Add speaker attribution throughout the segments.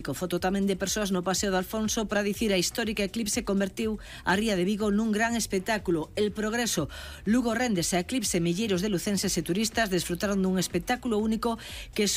Speaker 1: Foto tamén de persoas no Paseo de Alfonso para dicir a histórica eclipse convertiu a ría de Vigo nun gran espectáculo. El progreso. Lugo réndese a eclipse, milleiros de lucenses e turistas desfrutaron dun espectáculo único que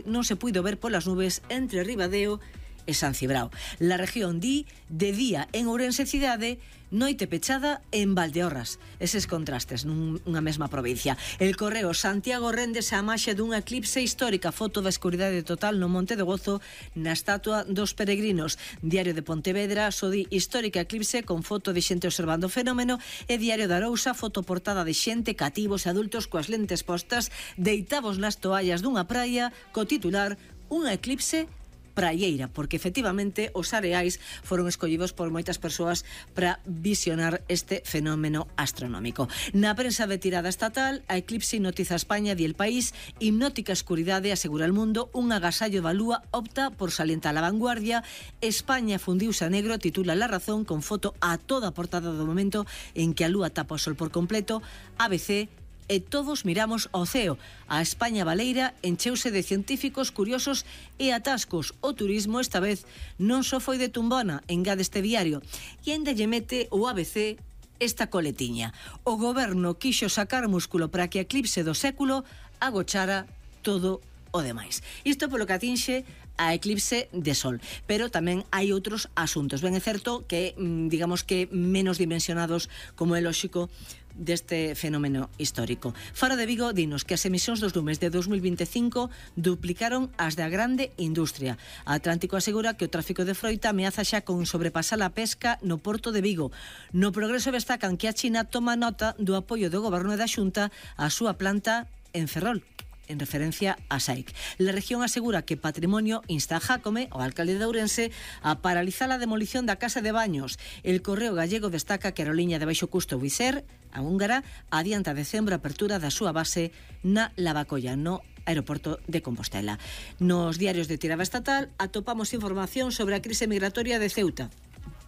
Speaker 1: non se puido ver polas nubes entre Ribadeo e San Cibrao. La región de día en Ourense cidade, noite pechada en Valdeorras. Eses contrastes nunha mesma provincia. El Correo. Santiago réndese a maxia dunha eclipse histórica. Foto da escuridade total no Monte de Gozo na estatua dos peregrinos. Diario de Pontevedra, sodi histórica eclipse con foto de xente observando o fenómeno, e Diario de Arousa, foto portada de xente, cativos e adultos coas lentes postas, deitados nas toallas dunha praia, co titular unha eclipse praieira, porque efectivamente os areais foron escollidos por moitas persoas para visionar este fenómeno astronómico. Na prensa de tirada estatal, a eclipse hipnotiza a España, di El País. Hipnótica escuridade, asegura El Mundo. Un agasallo da lúa opta por salientar a vanguardia. España fundiuse a negro, titula La Razón, con foto a toda a portada do momento en que a lúa tapa o sol por completo. ABC. E todos miramos ao ceo. A España baleira encheuse de científicos, curiosos e atascos. O turismo esta vez non só foi de tumbona, engade este diario. E ainda lle mete o ABC esta coletiña. O goberno quixo sacar músculo para que a eclipse do século agochara todo o demais. Isto polo que atinxe a eclipse de sol, pero tamén hai outros asuntos. Ben é certo que, digamos que menos dimensionados, como é lóxico, deste fenómeno histórico. Faro de Vigo dinos que as emisións dos lumes de 2025 duplicaron as da grande industria. A Atlántico asegura que o tráfico de froita ameaza xa con sobrepasar a pesca no porto de Vigo. No Progreso destacan que a China toma nota do apoio do goberno e da Xunta á súa planta en Ferrol, en referencia a SAIC. La región asegura que Patrimonio insta a Jácome, o alcalde de Ourense, a paralizar a demolición da casa de baños. El Correo Gallego destaca que a aeroliña de baixo custo Wizz Air, a húngara, adianta a decembro a apertura da súa base na Lavacolla, no aeroporto de Compostela. Nos diarios de tirada estatal atopamos información sobre a crise migratoria de Ceuta.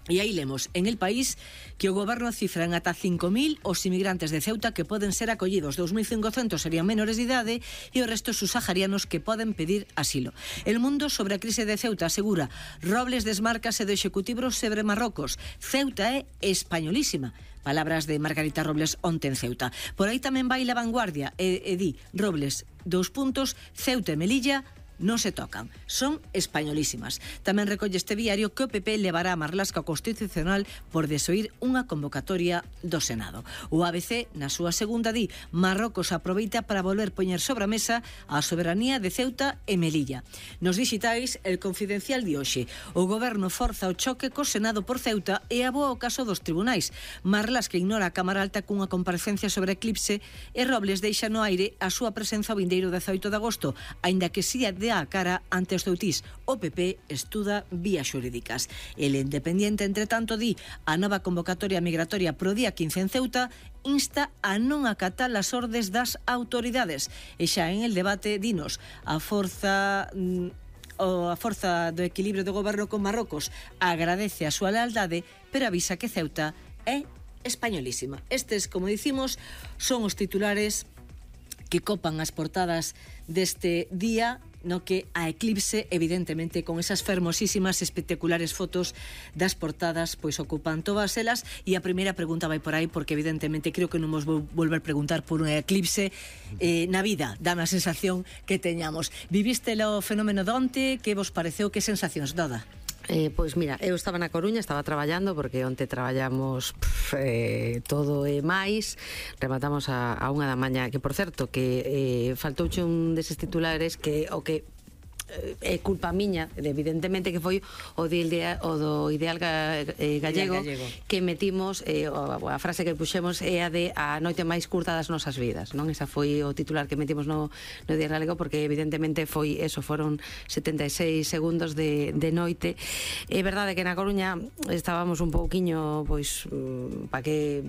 Speaker 1: E aí lemos en El País que o goberno cifra en ata 5.000 os inmigrantes de Ceuta que poden ser acollidos. 2.500 serían menores de idade e o resto subsaharianos que poden pedir asilo. El Mundo sobre a crise de Ceuta asegura: Robles desmárcase do executivo sobre Marrocos. Ceuta é españolísima. Palabras de Margarita Robles onte en Ceuta. Por aí tamén vai La Vanguardia e di Robles, Ceuta e Melilla non se tocan, son españolísimas. Tamén recolle este diario que o PP levará a Marlasca ao Constitucional por desoír unha convocatoria do Senado. O ABC, na súa segunda, di Marrocos aproveita para volver poñer sobre a mesa a soberanía de Ceuta e Melilla. Nos digitais, El Confidencial di hoxe: o goberno forza o choque co Senado por Ceuta e aboa o caso dos tribunais. Marlasca ignora a Cámara Alta cunha comparecencia sobre eclipse e Robles deixa no aire a súa presenza o vindeiro 18 de agosto, aínda que si a cara ante os ceutís. O PP estuda vías xurídicas. El Independiente, entre tanto, di a nova convocatoria migratoria pro día 15 en Ceuta insta a non acatar as ordes das autoridades. E xa en el debate dinos a forza do equilibrio do goberno con Marrocos agradece a súa lealdade, pero avisa que Ceuta é españolísima. Estes, como dicimos, son os titulares que copan as portadas deste día, no que a eclipse, evidentemente, con esas fermosísimas, espectaculares fotos das portadas, pois ocupan todas elas. E a primeira pregunta vai por aí, porque evidentemente creo que non vos vou volver preguntar por unha eclipse na vida, dá a sensación que teñamos. Viviste o fenómeno de onte, que vos pareceu, que sensacións, Doda?
Speaker 2: Pois mira, eu estaba na Coruña, estaba traballando, porque onte traballamos todo e máis. Rematamos a 1 da mañá, que por certo que faltouche un deses titulares que o que é culpa miña, evidentemente, que foi o do Ideal Gallego, que metimos, a frase que puxemos é a de a noite máis curta das nosas vidas, non? Esa foi o titular que metimos no Ideal Gallego, porque evidentemente foi eso, foron 76 segundos de noite. É verdade que na Coruña estábamos un pouquiño, pois, para que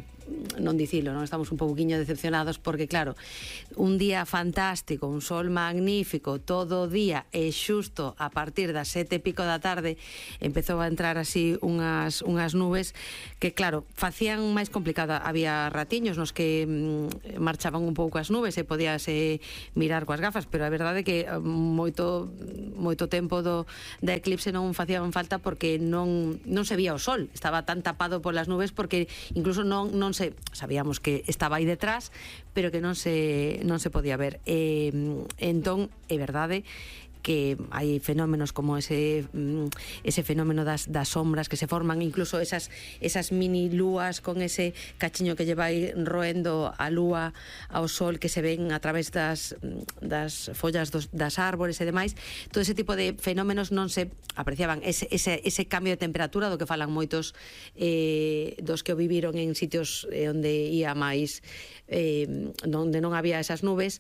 Speaker 2: non dicilo, non estamos un pouquiño decepcionados porque claro, un día fantástico, un sol magnífico todo o día e xusto a partir das 7:00 da tarde empezou a entrar así unhas nubes que claro, facían máis complicada, había ratiños nos que marchaban un pouco as nubes e podíase mirar coas gafas, pero a verdade é que moito tempo da eclipse non facían falta porque non se vía o sol, estaba tan tapado polas nubes porque incluso non se sabíamos que estaba aí detrás, pero que non se podía ver. Entón, é verdade que hai fenómenos como ese fenómeno das sombras que se forman, incluso esas mini lúas con ese cachiño que lle vai roendo a lúa ao sol que se ven a través das follas das árbores e demais. Todo ese tipo de fenómenos non se apreciaban. Ese cambio de temperatura do que falan moitos dos que o viviron en sitios onde ia máis onde non había esas nubes.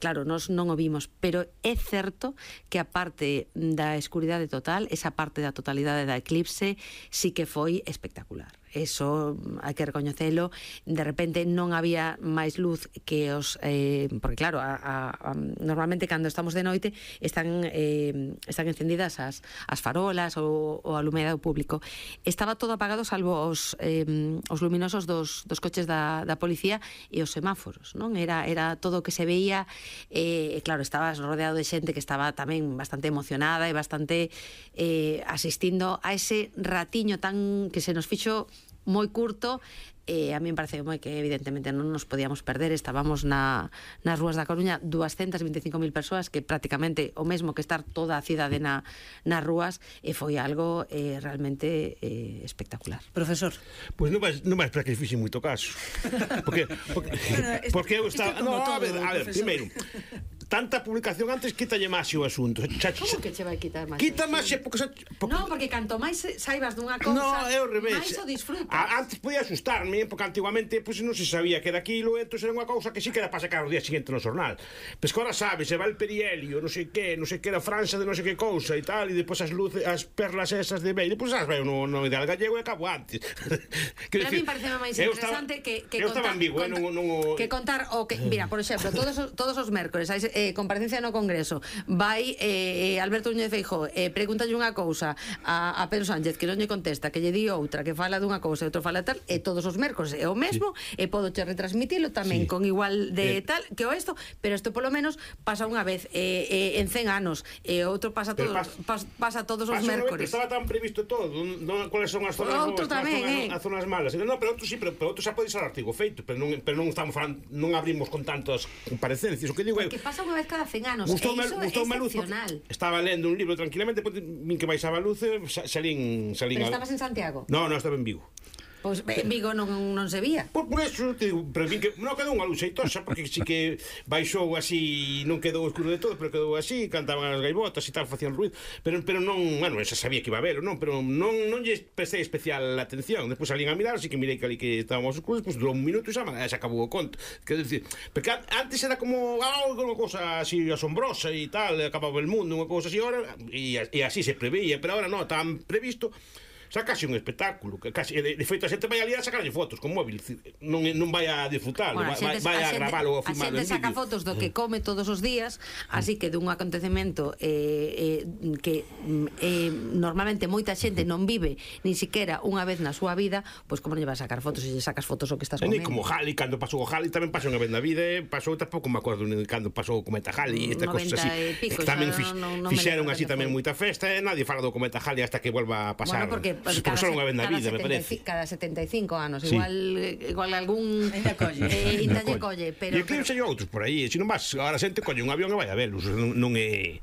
Speaker 2: Claro, nós non o vimos, pero é certo que a parte da escuridade total, esa parte da totalidade da eclipse, sí que foi espectacular. Eso hai que recoñecelo. De repente non había máis luz que os porque claro, normalmente cando estamos de noite están encendidas as farolas ou o alumeado público. Estaba todo apagado salvo os luminosos dos coches da policía e os semáforos, non? Era todo o que se veía, claro, estabas rodeado de xente que estaba tamén bastante emocionada e bastante asistindo a ese ratiño tan que se nos fixo moi curto. A mí me parece que evidentemente non nos podíamos perder. Estábamos nas rúas da Coruña 225.000 persoas, que prácticamente o mesmo que estar toda a cidade nas rúas, e foi algo realmente espectacular.
Speaker 1: Profesor.
Speaker 3: Pois non vais para que fixe moito caso. Porque eu estaba... No, a ver, primeiro, tanta publicación antes, quítalle máis o asunto.
Speaker 2: Como que che vai quitar máis?
Speaker 3: Quita máis porque...
Speaker 2: Non, porque canto máis saibas dunha cousa,
Speaker 3: no, é o revés.
Speaker 2: máis o disfrutas.
Speaker 3: Antes podía asustarme, porque antiguamente non se sabía que era aquilo, entón era unha cousa que sí que era para sacar o día seguinte no xornal. Pois que ahora sabes, se va el perihelio, non sei que era França de non sei que cousa e tal, e depois as luces, as perlas esas de Beire, pois as veo no ideal gallego e acabo antes.
Speaker 2: Pero a mí parece máis interesante que contar o que, mira, por exemplo, todos os mércores hai comparecencia no Congreso, vai Alberto Núñez Feijóo, pregúntalle unha cousa a Pedro Sánchez que non lle contesta, que lle di outra, que fala dunha cousa e outro fala tal, e todos os mércores é o mesmo, e podo che retransmitilo tamén con igual de tal que o isto, pero isto polo menos pasa unha vez en 100 anos, e outro pasa todos os mércores.
Speaker 3: Estaba tan previsto todo, cuáles son as zonas boas, as zonas malas. No, pero outro sí, pero outro xa pode ser artigo feito, pero non estamos falando, non abrimos con tantas comparecencias. O que digo é
Speaker 2: que pasa unha vez cada 100 anos, e iso é excepcional.
Speaker 3: Estaba lendo un libro tranquilamente, min que baixaba a luz, salín.
Speaker 2: Pero estabas en Santiago?
Speaker 3: No, estaba en Vigo.
Speaker 2: Pois Vigo non se vía.
Speaker 3: Por eso te digo, pero vin que non quedou unha luz xeitosa, porque si que baixou así, non quedou escuro de todo, pero quedou así, cantaban as gaivotas e tal, facían ruido, pero non, bueno, esa sabía que iba a verlo, non, pero non lle prestei especial atención. Despois salín a mirar, así que mirei que ali que estábamos oscuros, pues durou un minuto e xa acabou o conto. Quero dicir, porque antes era como unha cousa así asombrosa e tal, acababa el mundo, unha cousa así, ahora, e así se preveía, pero ahora non, tan previsto. Xa casi un espectáculo, casi, de feito a xente vai ali a sacarlle fotos con móvil, non vai a disfrutalo,
Speaker 2: bueno,
Speaker 3: vai a gravalo ou a filmalo en vídeo.
Speaker 2: A xente saca fotos do que come todos os días, así que dun acontecemento que normalmente moita xente non vive nin siquiera unha vez na súa vida, pois como non lle vas a sacar fotos se lle sacas fotos o que estás comendo.
Speaker 3: E como Halley, cando pasou o Halley tamén pasou unha vez na vida, pasou, tampouco me acordo cando pasou o cometa Halley, esta cosa así, tamén fixeron así tamén moita festa, e nadie fala do cometa Halley hasta que volva a pasar.
Speaker 2: Bueno, porque cada 75 anos, sí. igual algún inda lle colle, pero
Speaker 3: e eclipse outros por aí, se non vas, agora xente colle un avión e vai a velos, non é.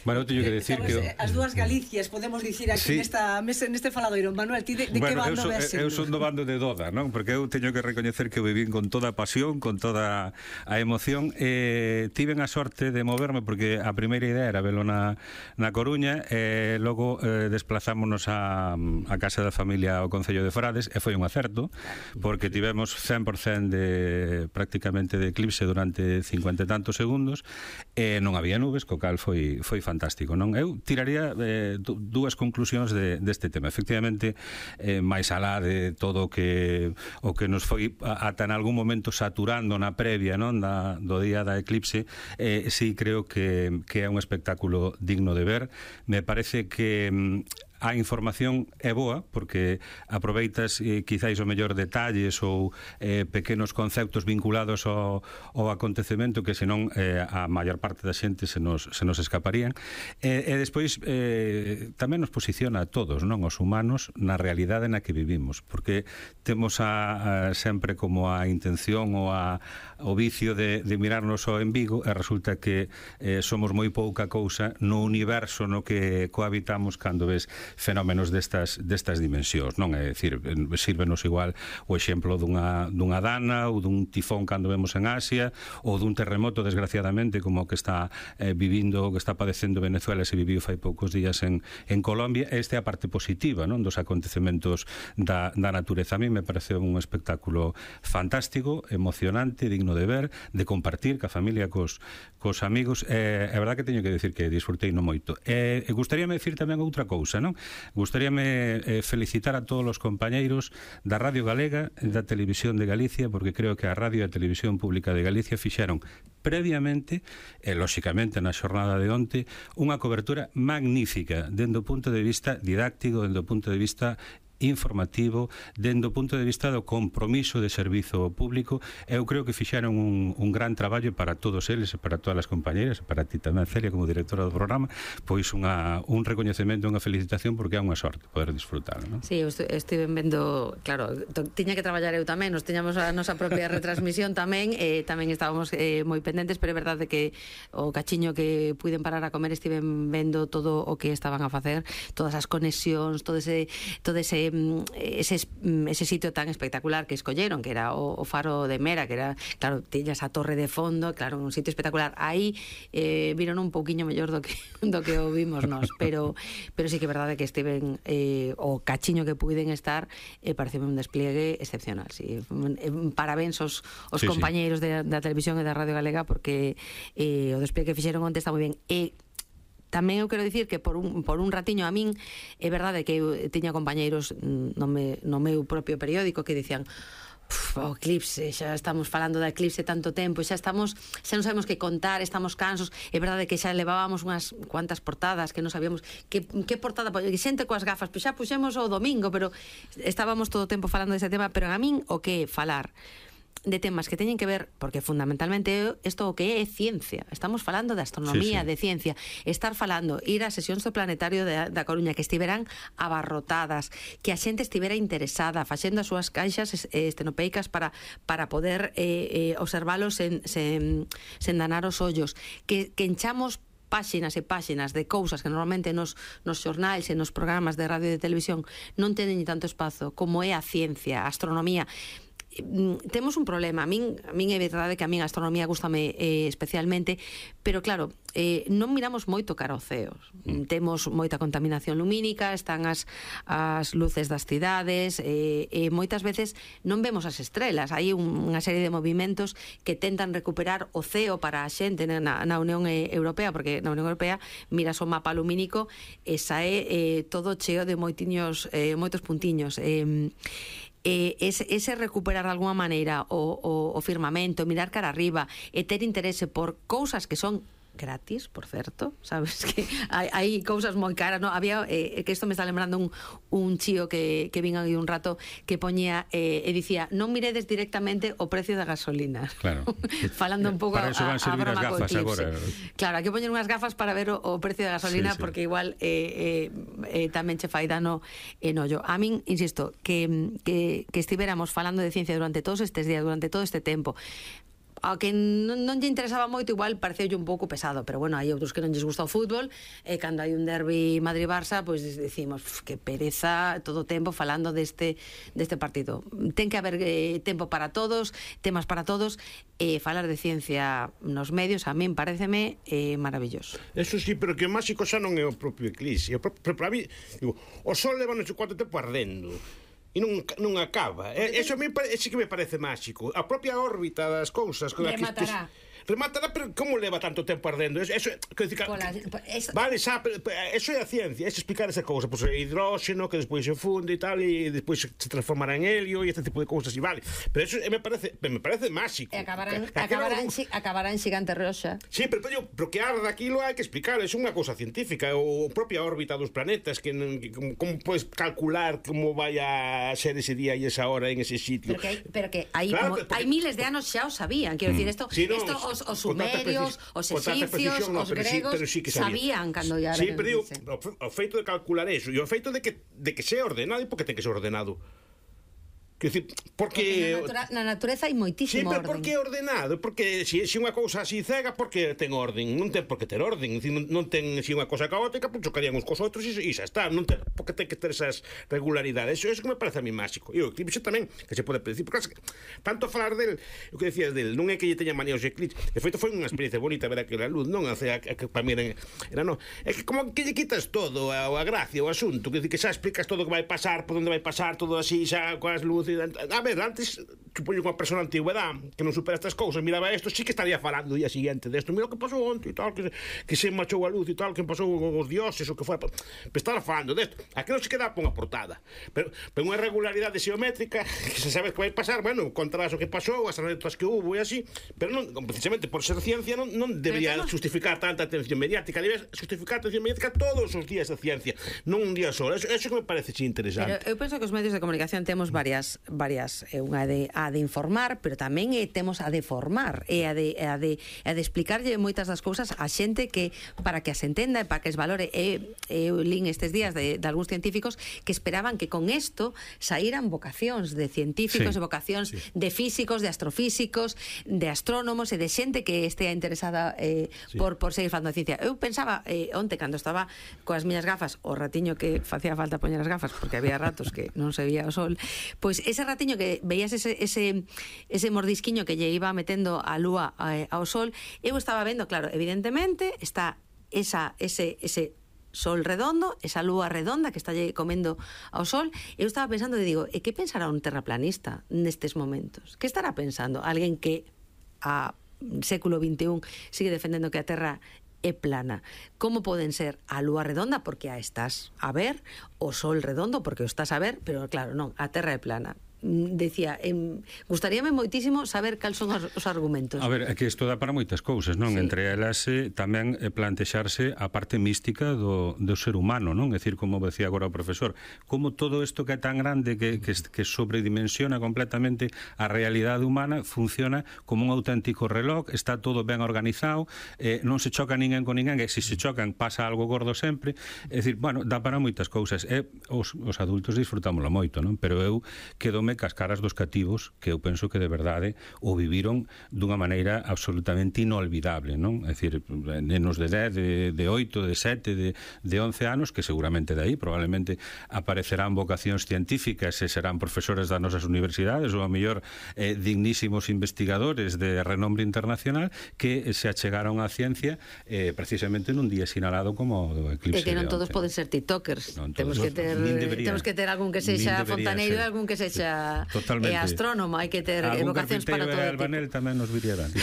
Speaker 4: Bueno, eu teño que decir que
Speaker 1: as dúas Galicias, podemos dicir aquí neste faladoiro. Manuel, ti de que bando ves?
Speaker 4: Eu son do bando de Doda, non? Porque eu teño que recoñecer que o vivín con toda a pasión, con toda a emoción, e tiven a sorte de moverme porque a primeira idea era velo na Coruña, e logo desplazámonos a casa da familia ao Concello de Frades, e foi un acerto porque tivemos 100% prácticamente de eclipse durante 50 e tantos segundos, e non había nubes, co cal foi fantástico. fantástico, non? Eu tiraría dúas conclusións deste tema. Efectivamente, máis alá de todo o que nos foi ata en algún momento saturando na previa, non, do día da eclipse, sí creo que é un espectáculo digno de ver. Me parece que a información é boa porque aproveitas quizáis o mellor detalles ou pequenos conceptos vinculados ao acontecemento que senón a maior parte da xente se nos escaparían, e despois tamén nos posiciona a todos, non, os humanos, na realidade na que vivimos, porque temos sempre como a intención ou o vicio de mirarnos ao en Vigo, e resulta que somos moi pouca cousa no universo no que cohabitamos cando ves fenómenos destas dimensións, non? É dicir, sírvenos igual o exemplo dunha dana ou dun tifón cando vemos en Asia, ou dun terremoto, desgraciadamente, como o que está vivindo, o que está padecendo Venezuela, se viviu fai poucos días en Colombia. Esta é a parte positiva, non, dos acontecementos da natureza. A mí me parece un espectáculo fantástico, emocionante, digno de ver, de compartir ca familia, cos amigos. É verdad que teño que decir que disfrutei no moito. Gustaríame decir tamén outra cousa, non? Gustaríame felicitar a todos os compañeiros da Radio Galega e da Televisión de Galicia, porque creo que a Radio e a Televisión Pública de Galicia fixeron previamente, e lóxicamente na xornada de onte, unha cobertura magnífica dende o punto de vista didáctico, dende o punto de vista informativo, dende o punto de vista do compromiso de servizo público. Eu creo que fixeron un gran traballo para todos eles e para todas as compañeras, para ti tamén, Celia, como directora do programa, pois un recoñecemento, unha felicitación, porque é unha sorte poder disfrutar, non?
Speaker 2: Sí, eu estive vendo, claro, tiña que traballar eu tamén, nos tiñamos a nosa propia retransmisión tamén, tamén estábamos moi pendentes, pero é verdade que o cachiño que puiden parar a comer estiven vendo todo o que estaban a facer, todas as conexións, todo ese sitio tan espectacular que escolleron, que era o Faro de Mera, que era, claro, tiñas a torre de fondo, claro, un sitio espectacular. Aí viron un pouquiño mellor do que o vimos nós, pero sí que é verdade que estiven o cachiño que puiden estar, pareceme un despliegue excepcional. Sí. Parabéns aos compañeiros da televisión e da Radio Galega, porque o despliegue que fixeron onte está moi ben. Tamén eu quero dicir que por un ratiño a min é verdade que eu tiña compañeiros no meu propio periódico que dicían: o eclipse, xa estamos falando da eclipse tanto tempo, xa non sabemos que contar, estamos cansos. É verdade que xa levábamos unhas cuantas portadas que non sabíamos que portada, xente coas gafas, pois xa puxemos o domingo, pero estábamos todo o tempo falando dese tema. Pero a min o que falar de temas que teñen que ver, porque fundamentalmente isto o que é ciencia, estamos falando de astronomía, sí. De ciencia, estar falando, ir a sesións do planetario da Coruña que estiveran abarrotadas, que a xente estivera interesada, facendo as súas caixas estenopeicas para poder observalos sen danar os ollos, que enchamos páxinas e páxinas de cousas que normalmente nos xornais e nos programas de radio e de televisión non teñen tanto espazo como é a ciencia, a astronomía. Temos un problema. A min é verdade que a min a astronomía gústame especialmente, pero claro, non miramos moito cara ao ceo. Temos moita contaminación lumínica, están as luces das cidades, e moitas veces non vemos as estrelas. Hai unha serie de movimentos que tentan recuperar o ceo para a xente na Unión Europea, porque na Unión Europea miras o mapa lumínico e sae todo cheo de moitos puntiños. Ese recuperar de alguma maneira o firmamento, mirar cara arriba e ter interese por cousas que son gratis, por certo, sabes que hai cousas moi caras, no? Había que isto me está lembrando un chío que vin aí un rato que poñía e dicía: non miredes directamente o precio da gasolina. Claro. Falando un pouco
Speaker 4: para eso van servir as gafas agora.
Speaker 2: Claro, hai que poñer unhas gafas para ver o precio da gasolina, sí. Porque igual tamén che fai dano en ollo. A min, insisto, que estivéramos falando de ciencia durante todos estes días, durante todo este tempo, ao que non lle interesaba moito, igual pareceulle un pouco pesado, pero bueno, hai outros que non lles gusta o fútbol, e cando hai un derbi Madrid-Barça, pois decimos que pereza todo o tempo falando deste partido. Ten que haber tempo para todos, temas para todos, e falar de ciencia nos medios a min pareceme maravilloso.
Speaker 3: Eso sí, pero que o máxico xa non é o propio eclipse. Pero para mí, digo, o sol leva non sei cuánto tempo ardendo e non acaba. Eso a mí sí que me parece máxico. A propia órbita das cousas.
Speaker 2: Rematará.
Speaker 3: remátala, pero como leva tanto tempo ardendo? Eso, vale, xa, eso é a ciencia, é explicar esa cousa, pois hidróxeno que despois se funde e tal, e despois se transformará en helio e este tipo de cousas, e vale, pero eso me parece máxico.
Speaker 2: E acabarán xigante roxa.
Speaker 3: Sí, pero que arda aquilo hai que explicar, é unha cousa científica, ou propia órbita dos planetas, que como podes calcular como vai a ser ese día e esa hora en ese sitio.
Speaker 2: Pero que hai miles de anos xa o sabían, quero dicir, os sumerios, os egipcios, os gregos sabían cando ya.
Speaker 3: Sí, pero o feito de calcular eso e o feito de que sea ordenado, e por que ten que ser ordenado? Quer dizer, porque
Speaker 2: na natureza hai moitísimo orden.
Speaker 3: Sí, pero por que ordenado? Porque se unha cousa así cega, porque ten orden? Non ten por que ter orden. Non ten se unha cousa caótica, pois chocarían uns cos outros e xa está. Non ten por que ten que ter esas regularidades. Eso que me parece a mí máxico. E o eclipse tamén, que se pode predecir. Porque tanto falar del, o que decías del, non é que lle teña manía os eclipses. De feito, foi unha experiencia bonita ver aquela luz, non? Que para mí era non. É que como que lle quitas todo, a gracia, o asunto. Que xa explicas todo o que vai pasar, por onde vai pasar, todo así, xa coas luces. A ver, antes, supoño que unha persona antigüedade que non supera estas cousas, miraba isto, sí que estaría falando o día siguiente desto, mira o que pasou onte e tal, que se marchou a luz e tal, que pasou os dioses, o que foi, pero estar falando desto, aquilo se queda por unha portada, pero unha regularidade xeométrica, que se sabe que vai pasar, bueno, contarás o que pasou, as anécdotas que hubo e así, pero non, precisamente por ser ciencia non debería justificar tanta atención mediática, debería justificar atención mediática todos os días da ciencia, non un día só, eso que me parece interesante.
Speaker 2: Pero eu penso que os medios de comunicación temos varias unha a de informar, pero tamén temos a de formar e a de explicarlle moitas das cousas a xente que para que as entenda e para que es valore. Eu lín estes días de algúns científicos que esperaban que con isto saíran vocacións de científicos, de vocacións de físicos, de astrofísicos, de astrónomos e de xente que estea interesada por seguir falando de ciencia. Eu pensaba onte cando estaba coas miñas gafas, o ratiño que facía falta poñer as gafas porque había ratos que non se veía o sol, pois ese ratiño que veías ese mordisquiño que lle iba metendo a lúa ao sol, eu estaba vendo, claro, evidentemente está ese sol redondo, esa lúa redonda que está lle comendo ao sol. Eu estaba pensando e digo, e que pensará un terraplanista nestes momentos? Que estará pensando alguén que a século XXI sigue defendendo que a Terra é plana? Como poden ser a lúa redonda porque a estás a ver, o sol redondo porque o estás a ver, pero claro, non, a Terra é plana. Decía, gustaríame moitísimo saber cal son os argumentos.
Speaker 4: A ver, é que isto dá para moitas cousas, non? Sí. Entre elas tamén plantexarse a parte mística do ser humano, non? É dicir, como decía agora o profesor, como todo isto que é tan grande que sobredimensiona completamente a realidade humana funciona como un auténtico reloj, está todo ben organizado, non se choca ninguén con ninguén, e se chocan pasa algo gordo sempre. É dicir, bueno, dá para moitas cousas. Os adultos disfrutámoslo moito, non? Pero eu quedome cas caras dos cativos que eu penso que de verdade o viviron dunha maneira absolutamente inolvidable, non? É dicir, nenos de 10, de 8, de 7, de 11 anos, que seguramente de aí probablemente aparecerán vocacións científicas e serán profesores das nosas universidades ou a mellor dignísimos investigadores de renombre internacional que se achegaron á ciencia precisamente nun día sinalado como o eclipse.
Speaker 2: E que non todos poden ser tiktokers. Temos que ter algún que sexa fontaneiro e algún que sexa astrónomo, hai que ter vocacións para todo tipo.
Speaker 4: Albanel tamén nos viría ben.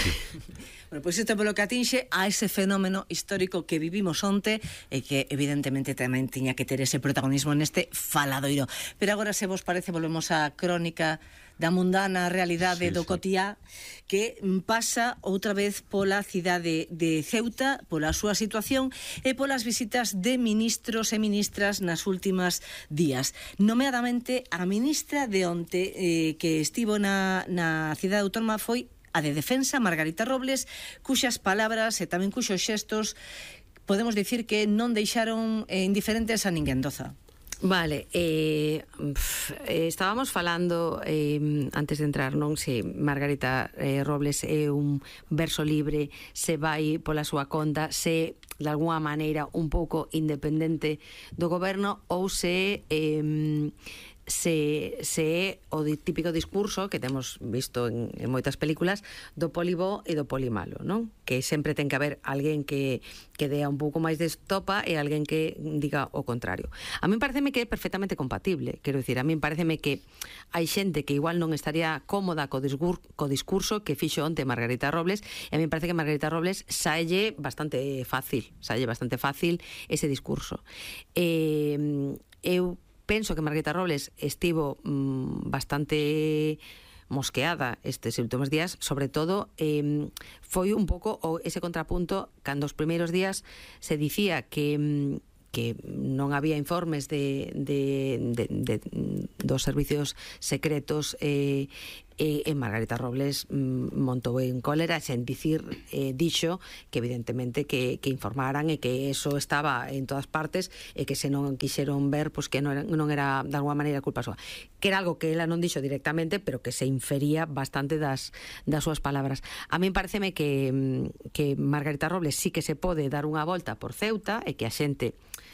Speaker 1: Bueno, pois isto polo que atinxe a ese fenómeno histórico que vivimos onte e que evidentemente tamén tiña que ter ese protagonismo neste faladoiro. Pero agora, se vos parece, volvemos á crónica da mundana realidade do cotiá, que pasa outra vez pola cidade de Ceuta, pola súa situación e polas visitas de ministros e ministras nas últimas días. Nomeadamente, a ministra de onte que estivo na cidade autónoma foi a de Defensa, Margarita Robles, cuxas palabras e tamén cuxos xestos podemos dicir que non deixaron indiferentes a ninguén, Doza.
Speaker 2: Vale, estábamos falando antes de entrar, non? Se Margarita Robles é un verso libre, se vai pola súa conta, se de alguna maneira un pouco independente do goberno ou se se é o típico discurso que temos visto en moitas películas do poli bo e do poli malo, non? Que sempre ten que haber alguén que dea un pouco máis de estopa e alguén que diga o contrario. A mí pareceme que é perfectamente compatible, quero dicir, a mí pareceme que hai xente que igual non estaría cómoda co discurso que fixo onte Margarita Robles, e a mí parece que Margarita Robles saelle bastante fácil ese discurso. Eu penso que Margarita Robles estivo bastante mosqueada estes últimos días, sobre todo foi un pouco ese contrapunto cando os primeiros días se dicía que non había informes dos servicios secretos e Margarita Robles montou en cólera sen dixo que evidentemente que informaran e que eso estaba en todas partes e que se non quixeron ver pois que non era de alguma maneira culpa súa, que era algo que ela non dixo directamente pero que se infería bastante das súas palabras. A mí pareceme que Margarita Robles sí que se pode dar unha volta por Ceuta e que a xente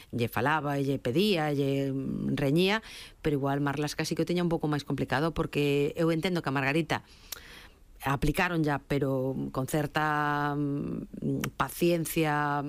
Speaker 2: lle falaba, lle pedía, lle reñía, pero igual Marlas casi que o teña un pouco máis complicado porque eu entendo que a Margarita aplicaron ya, pero con certa paciencia